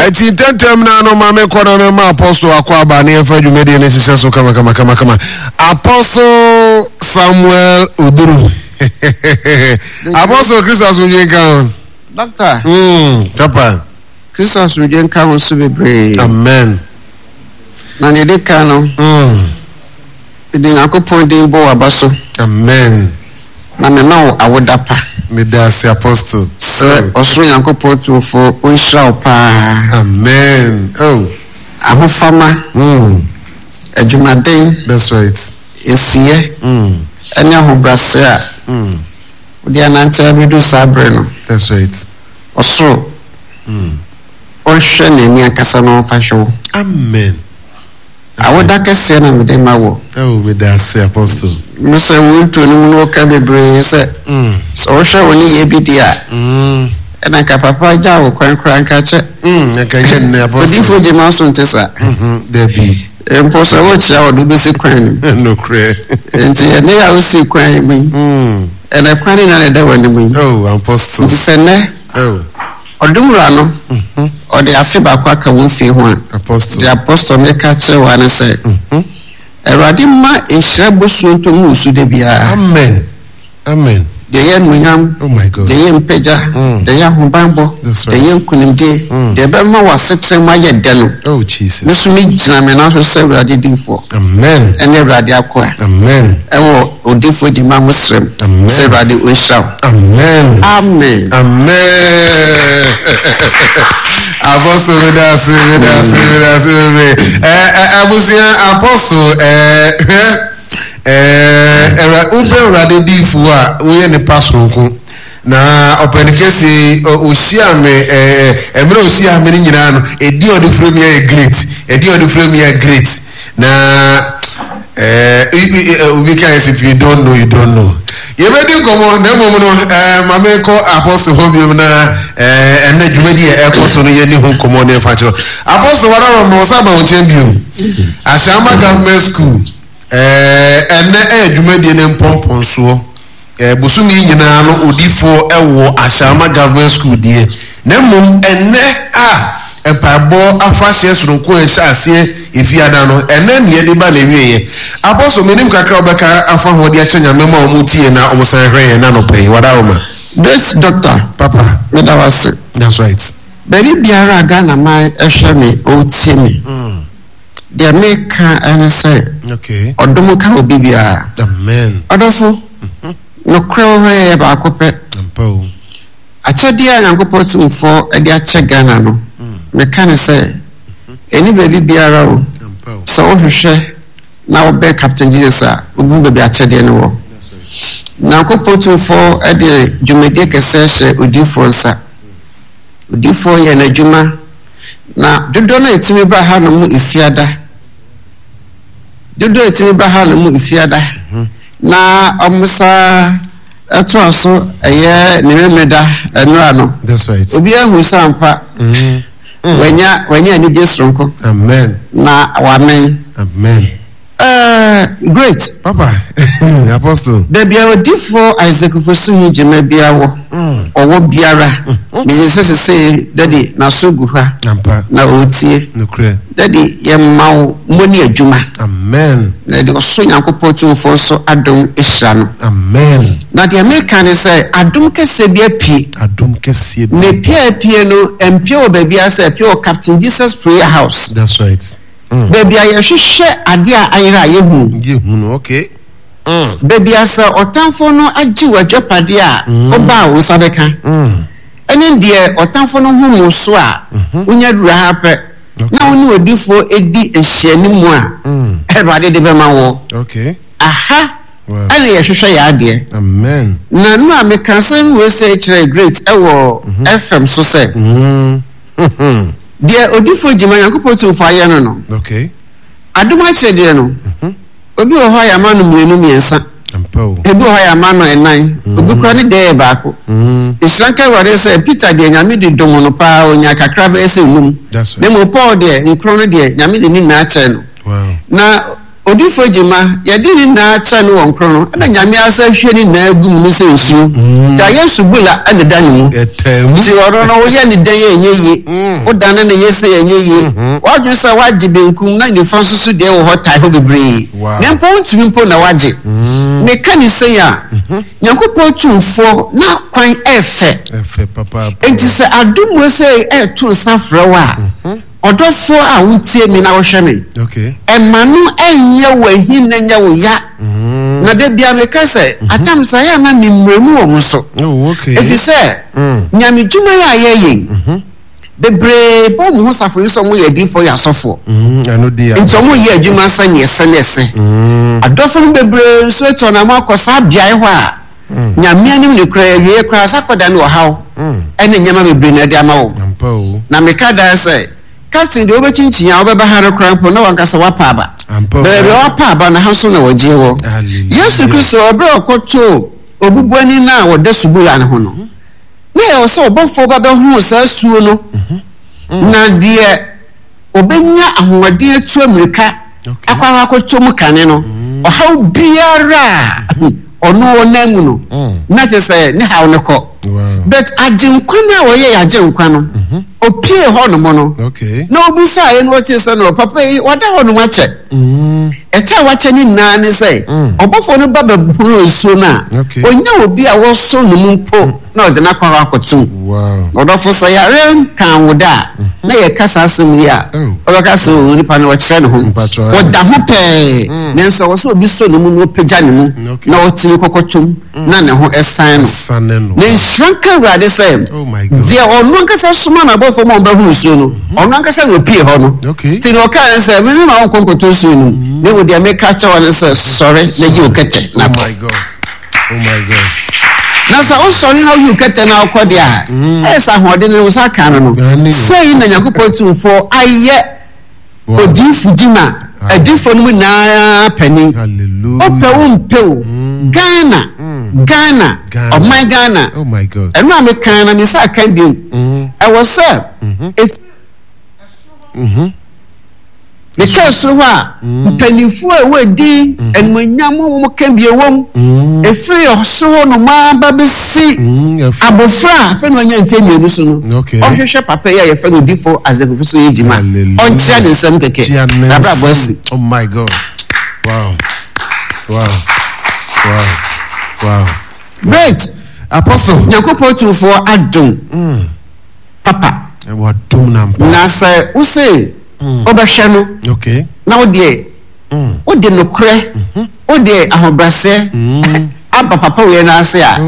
Ɛti ntɛntɛm na no ma mekɔ na mɛma Apostle akɔ aba ne yɛmfa dwumadie no nhyehyɛ so kama kama kama kama. Apostle Samuel Oduru. Apostle Kristo asomdwe nka ho. Doctor. Papa. Kristo asomdwe nka ho so bebree. Amen. Na nea ɛdi kan no. Mede Nyankopɔn din bɔ w'aba so. Amen. Na mema wo awoda pa. Meda ase Apostle. Sɛ ɔsoro Nyankopɔn Tumfoɔ ɔnhyira wo paa. Amen. Oh. Ahofama. Adwumaden. That's right. Nsiyɛ. Ɛne ahobrɛase a. Wode anante abɛdu saa bere no. That's right. Ɔsoro. Ɔnhwɛ n'ani ankasa na ɔmfa hwɛ wo. Amen. Awoda kɛseɛ na mede ma wo. Oh, meda ase, Apostle. Me sɛ wo nto no mu no woka bebree sɛ sɛ wohwɛ wo ne yɛ bi di a ɛna nka papa gya wo kwan koraa nka kyɛ. Nka nyɛ nnɛ, Apostle. Odifo gye ma so nte saa. Dabi. Mpo sɛ wokyea wɔde wobɛsi kwan no mu. Nokorɛ. Nti ɛnɛ a wosi kwan mu yi ɛnɛ kwan no na ɛda w'anim yi. Oh, Apostle. Nti sɛ nnɛ. Oh. Ɔdom Wura no, ɔde afe baako aka wo mfie ho a, deɛ Apostle meka kyerɛ wo ara ne sɛ, Awurade mma nhyira bosuo ntɔ ngu wo so da biara. Amen. Amen. Deɛ ɛyɛ anuonyam, Oh my God. deɛ ɛyɛ mpagya, deɛ ɛyɛ ahobanbɔ, That's deɛ right. ɛyɛ nkunimdie, deɛ ɛbɛma w'asetena mu ayɛ dɛ no, Oh Jesus. me nso megyina me nan so sɛ Awurade difoɔ Amen. ɛne Awurade akoa. Amen. Ɛwɔ odifoɔ gyima mo srɛ mu. Amen. Sɛ Awurade ɔnhyira wo. Amen. Amen. Amen. Apostle medase medase medase bebree. Ɛɛ ɛ abusua apostle ɛɛ hwɛ ɛɛ ɛwura wobɛ awurade diifo a woyɛ nipa soronko na ɔpɛni kɛse yi ɔhyia me ɛɛ ɛmmerɛ ɔhyia me no nyinaa no ɛdi ɔde frɛ mi yɛ great ɛdi ɔde frɛ mi yɛ great na ɛɛ obi ka yɛ sɛ if you don't know you don't know yɛbɛdi nkɔmmɔ na mmom no ɛɛ ma mekɔ apɔso hɔ biom na ɛɛ ɛnɛ dwumadi a ɛkɔ so no yɛni ho nkɔmmɔ ne ɛfa kyerɛ apɔso wara wɔ mɔ sɛ aba wo nkyɛn biom Asiama government school ɛɛ ɛnɛ ɛyɛ dwumadie ne mpɔmpɔnsoɔ ɛɛ bosome yi nyinaa no odifoɔ ɛwɔ Asiama government school deɛ na mmom ɛnɛ a Mpaebɔ afahyɛ soronko a ɛhyɛ aseɛ Efiada no, ɛnnɛ ne yɛde ba n'awieɛ. Apostle, menim kakra a wobɛka afa ho de akyerɛ Nyame mma a wɔn tie na wɔn san hwɛ yɛn anɔpa yi. Wadaroma. Great Doctor, Papa. meda wo ase. That's right. Baabi biara a Ghana man hwɛ me or tie me, deɛ meka ne sɛ, Okay. ɔdom nka obi biara. Amen. Ɔdɔfo, nokorɛ wɔ hɔ yɛ baako pɛ. Ampa o. Akyɛdeɛ a Nyankopɔn Tumfoɔ de akyɛ Ghana no, meka no sɛ, ɛnni baabi biara o. Sɛ wohwehwɛ na wobɛn Captain Jesus a, wobɛhu baabi akyɛdeɛ no wɔ. Nyankopɔn Tumfoɔ de dwumadie kɛseɛ hyɛ odiyifoɔ nsa. Odiyifoɔ yɛ n'adwuma, na dodoɔ no a ɛtumi ba ha no mu Efiada, dodoɔ a ɛtumi ba ha no mu Efiada, na wɔsa Ɛtoa so ɛyɛ ne Memeneda nnora no. That's right. Obiara hu sɛ ampa wanya wanya anigye soronko. Amen. Na wamen. Amen. Great. Papa, Apostle. Baabi a odifoɔ Isaac Fosuhi gyima biara wɔ, ɔwɔ biara, menim sɛ sesei Daddy n'aso gu ha Ampa. na ɔretie. Nokorɛ. Daddy, yɛma wo mmɔ ne adwuma. Amen. Na yɛde ɔsoro Nyankopɔn Tumfoɔ nso adom hyira no. Amen. Na deɛ meka ne sɛ, adom kɛseɛ bi apue. Adom kɛseɛ bi. Na epue a epue no, ɛmpue wɔ baabiara sɛ epue wɔ Captain Jesus Prayer House. That's right. Baabi a yɛhwehwɛ adeɛ a ayera a yɛhunu. Yɛhunu, okay. Baabi a sɛ ɔtamfo no agye w'agyapadeɛ a, woba a wo nsa bɛka. Ɛne deɛ ɔtamfo no hom wo so a, wonya duru ha pɛ. Na wo ne odifoɔ di nhyianimu a, Awurade de bɛma wo. Aha ɛna yɛhwehwɛ yɛ adeɛ. Na no a meka asɛm wei sɛ kyerɛ Great ɛwɔ FM so sɛ, deɛ odifoɔ Gyima Nyankopɔn Tumfoɔ ayɛ no no, adom akyɛdeɛ no, obi wɔ hɔ a yɛama no mmienu mmiɛnsa. Ebi wɔ hɔ a yɛama no nnan, obi koraa ne deɛ yɛ baako. Nhyira nka Awurade sɛ Peter deɛ Nyame de dom no paa, ɔnyaa kakra bɛyɛ sɛ nnum. Na mmom Paul deɛ nkron no deɛ Nyame de ne nyinaa kyɛɛ no. Na. Odiyifoɔ Gyimah, yɛde ne nyinaa kyerɛ no wɔ nkoro no, ɛna Nyame asa hwie ne nyinaa gu mu ne sɛ nsuo. Nti ayɛ subula ɛna ɛda ne mu. Nti ɔno no woyɛ ne dɛn ɛnyɛ yie, wodane no yɛ sei ɛnyɛ yie. Wadwene sɛ wagye benkum na nifa nso so deɛ wɔ hɔ tae hɔ bebree. Na mpo wontumi mpo na wagye. Meka ne sei a, Nyankopɔn tumfoɔ n'akwan ɛfɛ. Nti sɛ adom wei sei ɛto nsa frɛ wo a, Ɔdɔfoɔ a wotie me na wohwɛ me, mma no nnyɛ wo ahi na nyɛ wo ya. Na da biara meka sɛ, atam saa yɛ a na me mmerɛ mu wɔ mo so. Ɛfiri sɛ, Nyame dwuma yi a yɛyɛ yi, bebree bɔ wɔn ho safo yi sɛ wɔyɛ adiyifoɔ yɛ asɔfoɔ. Nti wɔyɛ adwuma sɛdeɛ ɛsɛ ne ɛsɛ. Adɔfo no bebree nso atu anamɔ akɔ saa beaeɛ hɔ a, Nyame anim no koraa awiei koraa sa kɔda ne ɔhaw ne nneɛma bebree na ɛde ama wo. Na meka daa sɛ, Captain deɛ wobɛkyinkyin a wobɛba ha no koraa mpo na wankasa wapa aba. Baabi a wapa aba no ha nso na wɔgye wɔ. Yesu Kristo ɔberɛ a ɔkɔtoo obubuani no a ɔda subura no ho no, na ɛwɔ sɛ ɔbɔfoɔ ba bɛhoo saa suo no na deɛ ɔbɛnya ahoɔden atu ammirika akɔ akɔtɔ mu kane no, ɔhaw biara a ɔno ɔnam mu no, na kyerɛ sɛ ne haw no kɔ. But Agyenkwa no a ɔyɛ yɛn Agyenkwa no, ɔpue hɔnom no, na ɔbisaeɛ no ɔtee sɛ no, papa yi wada hɔnom akyɛ. Ɛkyɛ a wakyɛ ne nyinaa ne sɛ, ɔbɔfoɔ no ba bɛhoro nsuo no a, ɔnya obi a wɔsɔ ne mu mpo na ɔde no akɔ hɔ akɔtom. Ɔdɔfo, sɛ yareɛ nkaa wo da a, na yɛka saa asɛm yi a, wobɛka sɛ oh, onipa no ɔkyerɛ ne ho. Ɔda ho pɛɛ, nanso ɛwɔ sɛ obi sɔ ne mu na ɔpagya ne mu na ɔtumi kɔkɔtom na ne ho san no. Na nhyira nka Awurade sɛ deɛ ɔno ankasa soma n'abɔfoɔ ma wɔbɛhoro nsuo no, ɔno ankasa na ɔpie hɔ no. Nti na ɔkaa ne sɛ, meme ma wonkɔ nkɔtɔ nsuo no mu, na mmom deɛ meka kyerɛ wo ne sɛ, sɔre na gye wo kɛtɛ na kɔ. Oh my God. Na sɛ wosɔre na woyi wo kɛtɛ na wokɔ deɛ a, ɛyɛ sɛ ahoɔden no wo nsa ka no no. Sei na Nyankopɔn Tumfoɔ ayɛ odiyifo gyima adiyifoɔ no mu nyinaa panin. Wopɛ wo mpɛ o, Ghana, Ghana, ɔman Ghana. Ɛno a mekan na me nsa aka biom. Ɛwɔ sɛ ɛfiri Mehwɛɛ soro hɔ a, mpanimfoɔ a ɛwɔ edin, animuonyam a wɔka bi wɔ mu. Ɛfiri ɔsoro hɔ nom ara ba bɛsi abɔfra a afei na wanya mfeɛ mmienu so no, ɔhwehwɛ papa yi a yɛfrɛ no Odifo Isaac Ofosu Agyima. Ɔnkyea ne nsam kɛkɛ, n'abrabɔ asi. Oh my God. Wow. Wow. Wow. Wow. Great. Apostle. Nyankopɔn tumfoɔ adom. Papa. Wadom no ampa. Na sɛ wose wobɛhwɛ no, na wo deɛ wode nokorɛ, wode ahobrɛaseɛ aba papa wei no ase a,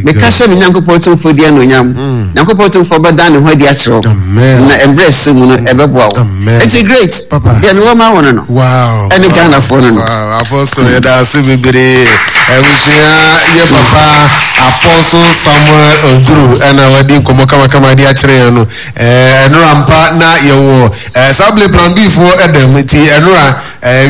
meka hyɛ me Nyankopɔn Tumfoɔ din anuonyam. Nyankopɔn Tumfoɔ bɛda ne ho adi akyerɛ wo, na mmerɛ ɛsɛ mu no ɛbɛboa wo. Enti great, deɛ mewɔ ma wo no no, ɛne Ghanafoɔ no no. Apostle, yɛda ase bebree. Abusua yɛ papa Apostle Samuel Oduru ɛna wadi nkɔmmɔ kamakama de akyerɛ yɛn no. Ɛnora mpa na yɛwɔ saa bere Plan B foɔ ɛdɛm nti ɛnora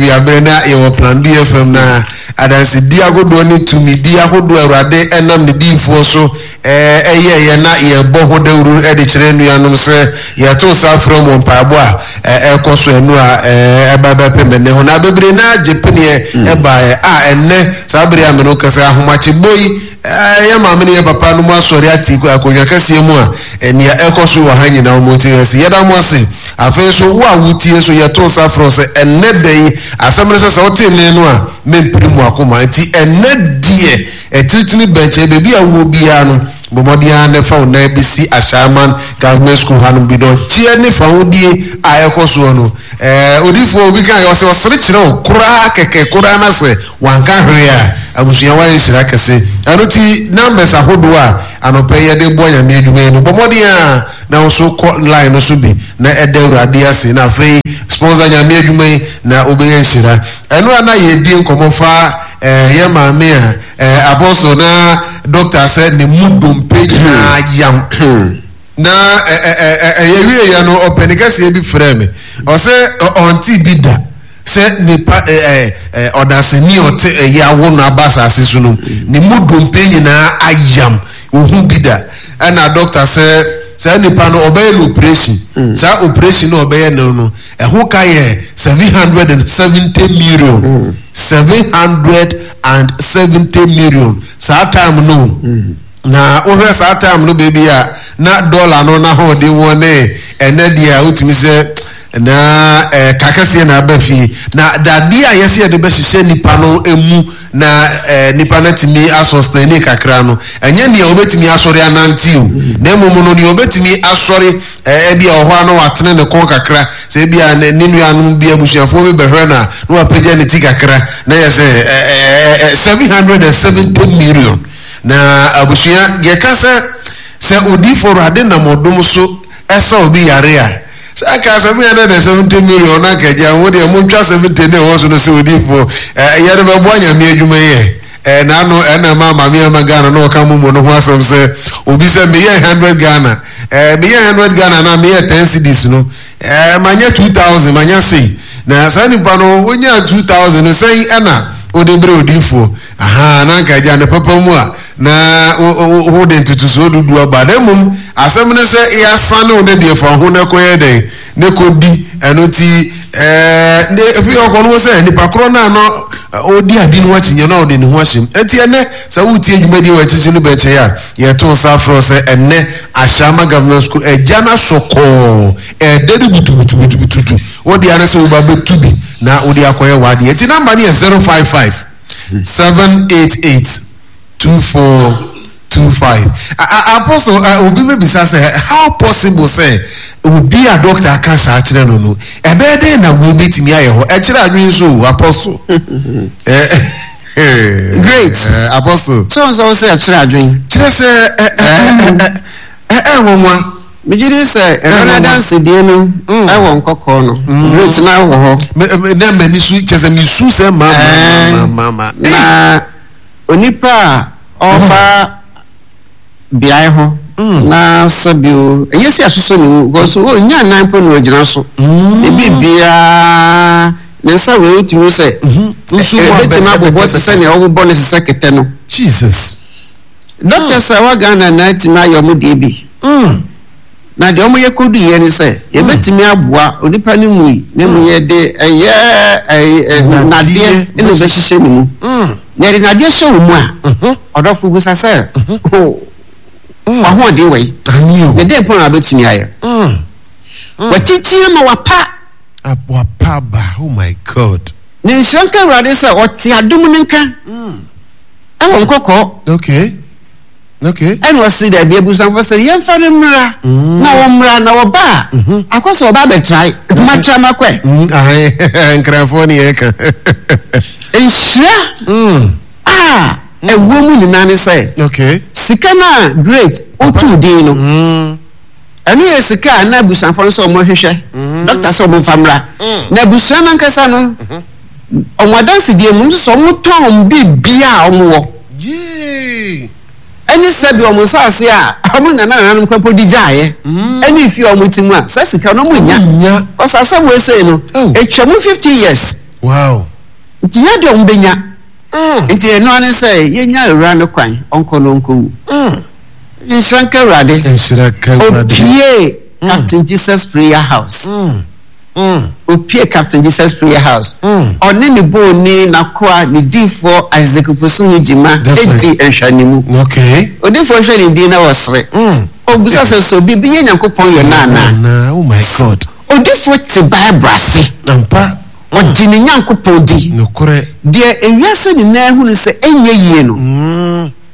wiabere na yɛwɔ Plan B FM na adansedi ahodoɔ ne tumidi ahodoɔ Awurade ɛnam ne diifoɔ so ɛyɛeɛ na yɛbɔ ho dawuro de kyerɛ nuanom sɛ yɛto nsa frɛ wɔn mpaebɔ a ɛrekɔ so ɛno a ɛba bɛpem ɛnnɛ ho. Na bebree no ara gye peneɛ ɛbaeɛ a ɛnnɛ saa bere a me no kasa ahomakyebɔ yi yɛ maame ne yɛ papa no mu asɔre ate akonnwa kɛseɛ mu a nea ɛkɔ so wɔ ha nyinaa wɔn ti ase. Yɛda mo ase. Afei nso wo a wotie nso yɛto nsa frɛ wo sɛ ɛnnɛ da yi asɛm no sɛ sɛ wote nne no a mempere mu akoma nti ɛnnɛ deɛ Akyirikyiri bɛnkyɛe, baabi a wowɔ biara no, bɔ mmɔden ara na fa wo nan bɛsi Ashaiman Government School hanom bi. Dɔnteɛ ne fahodie a ɛrekɔ soɔ no, ɛɛ, odiyifoɔ obi kaeɛ, ɔse ɔsere kyerɛ wo koraa kɛkɛ koraa na sɛ wanka hwee a, abusua woayɛ nhyira kɛse. Ɛno nti, numbers ahodoɔ a anɔpa yi yɛde boa Nyame adwuma yi no, bɔ mmɔden ara na wo nso kɔ line no so bi na ɛda Awurade ase na afei sponsor Nyame adwuma yi na wobɛyɛ nhyira. Ɛno a na yɛredi nkɔmmɔ fa Eh, yɛ maame a, eh, apostle na doctor sɛ ne mu dompe nyinaa yam. Na eh, eh, eh, eh, yɛwie yɛ no, ɔpɛni kɛseɛ bi frɛ me. Ɔsɛ ɔnte bi da sɛ nipa eh, eh, ɔdasani ɔte ɛyɛ awo no aba asase so no, ne mu dompe nyinaa ayam, ohu bi da. Ɛna doctor sɛ saa nipa no ɔbɛyɛ no operation. Saa operation no ɔbɛyɛ no no, ɛho ka yɛ. 770 million. 770 million saa time no. Na wohwɛ saa time no baabi a na dɔla no n'ahoɔden wɔ ne ɛnɛ deɛ a, wotumi sɛ na ɛka kɛseɛ na aba fie. Na dadeɛ a yɛsɛ yɛde bɛhyehyɛ nipa no mu na nipa no atumi asɔstɛne kakra no, ɛnyɛ nea obetumi asɔre anante o, na mmom no nea obetumi asɔre, ebi a ɔhɔ a na watene ne kɔn kakra, sɛ ebi a ne nuanom bi, abusuafoɔ bi bɛhwɛ no a, na wapagya ne ti kakra, na yɛ sɛ 770 million. Na abusua, yɛka sɛ odiifo Awurade nam ɔdom so ɛsɛ obi yare a, sɛ aka 770 million na nkagya wo deɛ, montwa 70 ne ɛwɔ so no sɛ odiifo yɛde bɛboa Nyame adwuma yɛ. N'ano ɛna ma maame ama Ghana na ɔka momo no ho asɛm sɛ obi sɛ meyɛ 100 Ghana, meyɛ 100 Ghana na meyɛ 10 cedis no, manyɛ 2000, manyɛ sei. Na saa nipa no wonya 2000 no sɛn ɛna wode berɛ odiifoɔ aha na nka agya ne papa mu a na wode ntotosoɔ dudu aba? Na mmom asɛm no sɛ yɛasane wo ne deɛ fa ho na kɔyɛ dɛn ne kɔdi ɛno. Nti ne efi ɔkɔ no sɛ nipa korɔ no a na ɔdi ade no akyinyɛ na ɔde ne ho ahyɛm. Nti ɛnɛ sɛ wotie dwumadie wɔ akyikyi no bɛnkyɛn a, yɛto nsa afrɛ sɛ ɛnɛ Ahyɛama Government School agya no asɔ kɔɔ ɛdɛ no butubutubutubutu. Wode ane sɛ woba bɛtu bi na wode akɔyɛ w'adeɛ. Nti number no yɛ 055 788 2425. Apostle, obi bɛbisa sɛ how possible sɛ obi a doctor aka saa kyerɛ no, ɛbɛyɛ dɛn na wo bɛtumi ayɛ hɔ? Ɛkyerɛ adwene so o, Apostle. Great. Apostle. Sɛ ɔn sɛ wo sɛ ɛkyerɛ adwene. Kyerɛ sɛ ɛnwanwa. Megye di sɛ ɛno no adansedie no ɛwɔ Nkɔkɔɔ no. Great, na wɔ hɔ. Na m'ani so kyerɛ sɛ mesu sɛ ma ma ma ma. Na onipa a ɔba beaeɛ hɔ na sɛbio ɛnyɛ sɛ asosɔ ne mu because ɔnya nan po na ɔgyina so, ne biribiaa ne nsa wei wotumi sɛ ɛbɛtumi abobɔ te sɛ nea wɔbobɔ no te sɛ kɛtɛ no. Jesus. Doctors a ɛwɔ Ghana na atumi ayɛ ɔmo deɛ bi, na deɛ ɔmo yɛ kɔdu yɛ ne sɛ yɛbɛtumi aboa onipa no mu yi na mu yɛde ɛyɛ ɛyɛ nadeɛ ɛna ɔbɛhyehyɛ ne mu. Na yɛde nadeɛ hyɛ wɔ mu a, ɔdɔfo busa sɛ wahoɔden wɔ yi Ani o. Na dɛn pɔn a wabɛtumi ayɛ wakyikyi ama wapa. Wapa ba, oh my God. Ne nhyira nka Awurade sɛ ɔte adom no nka ɛwɔ Nkɔkɔɔ. Ɛna ɔsi dɛbi, abusuafo sɛ yɛmfa no mmra na wɔmmra na wɔba a, akɔ sɛ ɔba abɛtrae matra makɔɛ. Nkrafoɔ ne yɛka. Nhyira a ɛwɔ mu nyinaa ne sɛ sika no a Great otuu din no, ɛno yɛ sika a na abusuafo no sɛ ɔmo hwehwɛ dɔkta sɛ ɔmo mfa mmra. Na abusua no ankasa no, ɔmo adansedie mu nso sɛ ɔmo tɔn biribiara a ɔmo wɔ ɛne sɛbi ɔmo nsaase a ɔmo nana nananom kpɛmpo di gyaeɛ ɛne efi a ɔmo ti mu a, sɛ sika no ɔmo nya nya. Kɔsɔ asɛm wo esei no, etwa mu 50 years. Nti yɛ deɛ ɔmo benya. Nti ɛno ano sɛ yɛnya awura no kwan ɔnkɔ no ɔnkɔwu. Nhyira nka Awurade. Nhyira ka Awurade. Opie Captain Jesus Prayer House. Opie Captain Jesus Prayer House. Ɔne ne booni n'akoa ne diifoɔ Isaac Fosuhi Gyima That's edi nhwɛanimu. Odiifoɔ hwɛ ne din na wɔsere. Ɔbusa sɛ so biribi yɛ Nyankopɔn yɛ no anaa? Na oh my God. Odiifoɔ te Bible ase. Ampa. Ɔgye ne Nyankopɔn di. Nokorɛ. Deɛ ewiase nyinaa hunu sɛ ɛnyɛ yie no,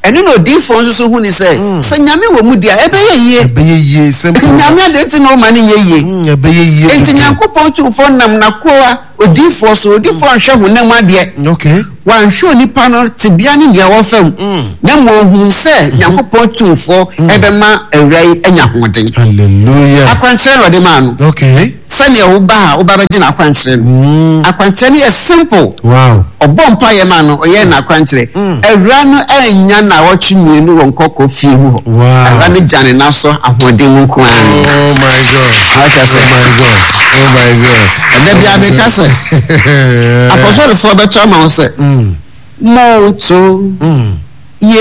ɛno na odiifoɔ nso so hunu sɛ sɛ Nyame wɔ mu deɛ a, ɛbɛyɛ yie. Ɛbɛyɛ yie, simple. Nyame adeɛ nti na ɔma no nyɛ yie. Ɛbɛyɛ yie. Enti Nyankopɔn tumfoɔ nam n'akoa odiifoɔ so. Odiifoɔ anhwɛ honam adeɛ. Wanhwɛ onipa no tebea ne nea ɛwɔ fam, na mmom ohuu sɛ Nyankopɔn tumfoɔ ɛbɛma awura yi anya ahoɔden. Hallelujah. Akwankyerɛ na ɔde maa no. Sɛnea woba a woba bɛgye n'akwankyerɛ no, akwankyerɛ no yɛ simple. Ɔbɔ mpaeɛ ma no, ɔyɛ n'akwankyerɛ. Awura no anya naawɔtwe 2 wɔ Nkɔkɔ fie mu hɔ. Awura no gya ne nan so ahoɔden mu nko ara. Oh my God. Ɔhwɛ sɛ Oh my God. Oh my God. Ɛda bia meka sɛ apɔsɔlefoɔ bɛtɔ ama wo sɛ monto.